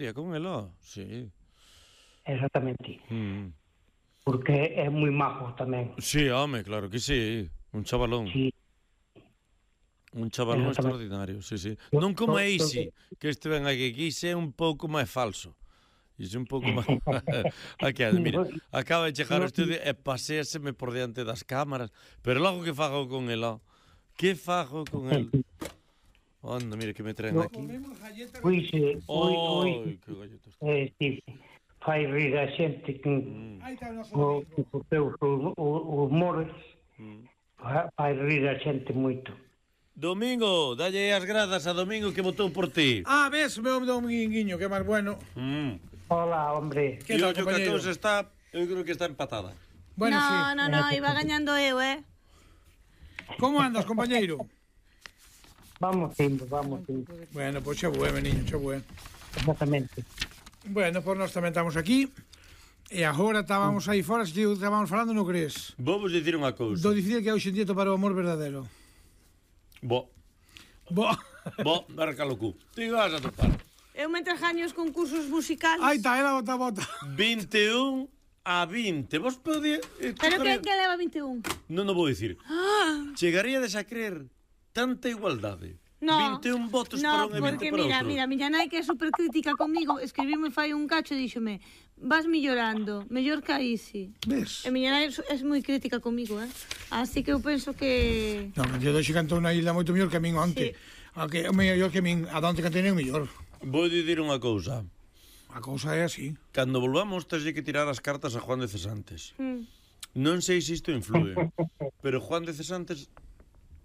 día con ela, sí. Exactamente. Porque é moi majo tamén. Sí, home, claro que sí. Un chavalón. Sí. Un chavalón extraordinario, sí, sí. Non como a Isi, que este ven aquí. Isi é un pouco máis falso. Isi un pouco máis... Aquí, mira, acaba de chegar ao estudio e paséaseme por diante das cámaras. Pero logo que fago con ela... Que fago con el? Anda, mira que me traen aquí. Pois, que galletas. Sí. Fai rir a xente con os teus humores. Fai rir a xente moito. Domingo, dalle as grazas a Domingo que votou por ti. Ves, meu Dominguinho, que máis bueno. Hola, hombre. Que tal, compañeiro? Eu creo que está empatada. Bueno, no, iba gañando eu, Como andas, compañeiro? Vamos indo. Bueno, pois xa bue, meniño, xa bue. Exactamente. Bueno, pois nós tamén estamos aquí. E agora estábamos aí fora, se estábamos falando, non crees? Vou vos dicir unha cousa. Do dicir que hoxe en día topar o amor verdadeiro. Barca lo cu. Ti vas a topar. Eu mentre gaño os concursos musicales. Aí está, ela bota. 21 a 20. Vos podía... Pero que leva 21? Non o vou dicir. Chegaríades a creer tanta igualdade. No, 21 votos para un e 20 para outro. Mira, miña nai que é super crítica comigo, escribime fai un cacho e díxome: vas mellorando, mellor que a Isi. Ves? E miña nai é moi crítica comigo, así que eu penso que... Non, eu doxe cantou na isla moito mellor que a min onte. Que é mellor que a min, a onte cantei é mellor. Vou dicir unha cousa. A cousa é así. Cando volvamos, teslle que tirar as cartas a Juan de Cesantes. Non sei se isto influe, pero Juan de Cesantes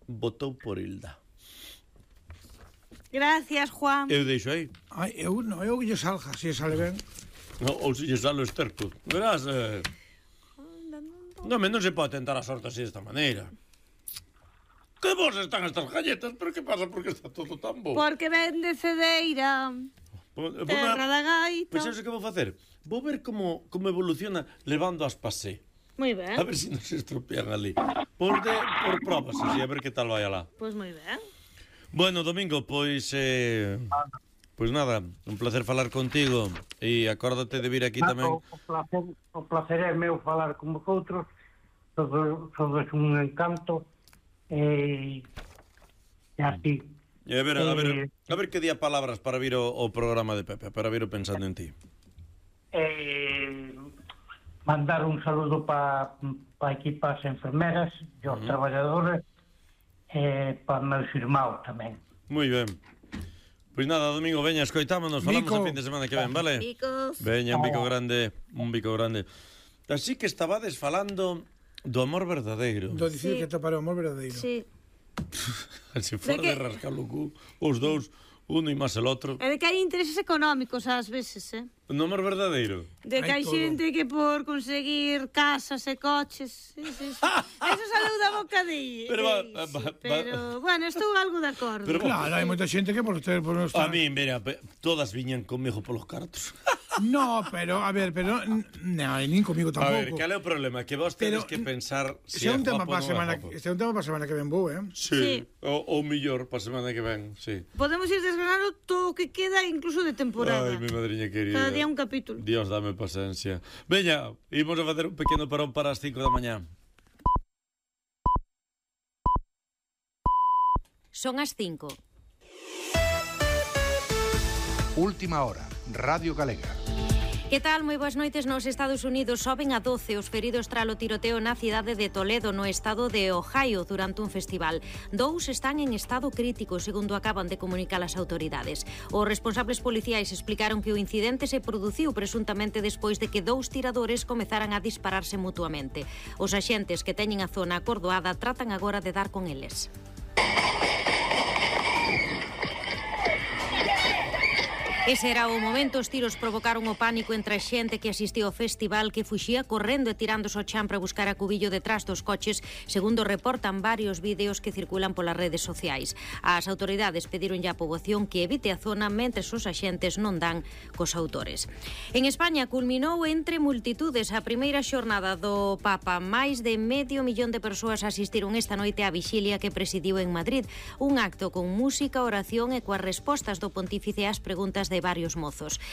votou por Hilda. Gracias, Juan. Eu deixo aí. Eu que lle salga, se sale ben. Ou se lle sale o esterco. Verás, non se pode tentar a sorte así desta maneira. Que vos están estas galletas? Pero que pasa? Porque está todo tan bo? Porque ven de Cedeira, terra da gaita. Pois xa sei que vou facer. Vou ver como evoluciona levando as pasé. Moi ben. A ver se non se estropean ali. Por probas, así, a ver que tal vai alá. Pois moi ben. Bueno, Domingo, pois nada, un placer falar contigo e acórdate de vir aquí tamén. O placer é meu falar con vosotros, sodes un encanto e así. E a ver que día palabras para vir o programa de Pepe, para vir pensando en ti. Mandar un saludo para aquí, para as enfermeras e os traballadores, para meus irmãos tamén. Moi ben. Pois nada, Domingo, veña, escoitámonos, falamos a fin de semana que ven, vale? Bicos. Veña, un bico grande. Así que estabades falando do amor verdadeiro. Do dicir que topar o amor verdadeiro. Sí. Se fora de rascar o cu, os dous, uno e máis el outro. É de que hai intereses económicos ás veces, No amor verdadeiro. De que hai xente que por conseguir casas e coches... Eso saleu da boca de... Pero, bueno, estou algo de acordo. Claro, hai moita xente que por ter... A mí, mira, todas viñan comigo polos cartos. No, pero, a ver, nin comigo tampouco. A ver, cal é o problema? Que vos tedes que pensar se é un tema para a semana que ven vou, Sí, ou millor para a semana que ven, sí. Podemos ir desgranando todo o que queda, incluso de temporada. Ai, mi madriña querida. Cada día un capítulo. Dios, dame paciencia. Veña, imos a facer un pequeno parón para as 5 da mañá. Son as 5. Última hora, Radio Galega. Que tal? Moi boas noites. Nos Estados Unidos soben a 12 os feridos tralo tiroteo na cidade de Toledo, no estado de Ohio, durante un festival. 2 están en estado crítico, segundo acaban de comunicar as autoridades. Os responsables policiais explicaron que o incidente se produciu presuntamente despois de que 2 tiradores comezaran a dispararse mutuamente. Os axentes que teñen a zona acordoada tratan agora de dar con eles. Ese era o momento, os tiros provocaron o pánico entre a xente que asistiu ao festival, que fuxía correndo e tirándose ao chan para buscar a cubillo detrás dos coches, segundo reportan varios vídeos que circulan polas redes sociais. As autoridades pedironlle á poboación que evite a zona mentres os axentes non dan cos autores. En España culminou entre multitudes a primeira xornada do Papa. Máis de 500,000 de persoas asistiron esta noite á vixilia que presidiu en Madrid, un acto con música, oración e coas respostas do pontífice ás preguntas de varios mozos.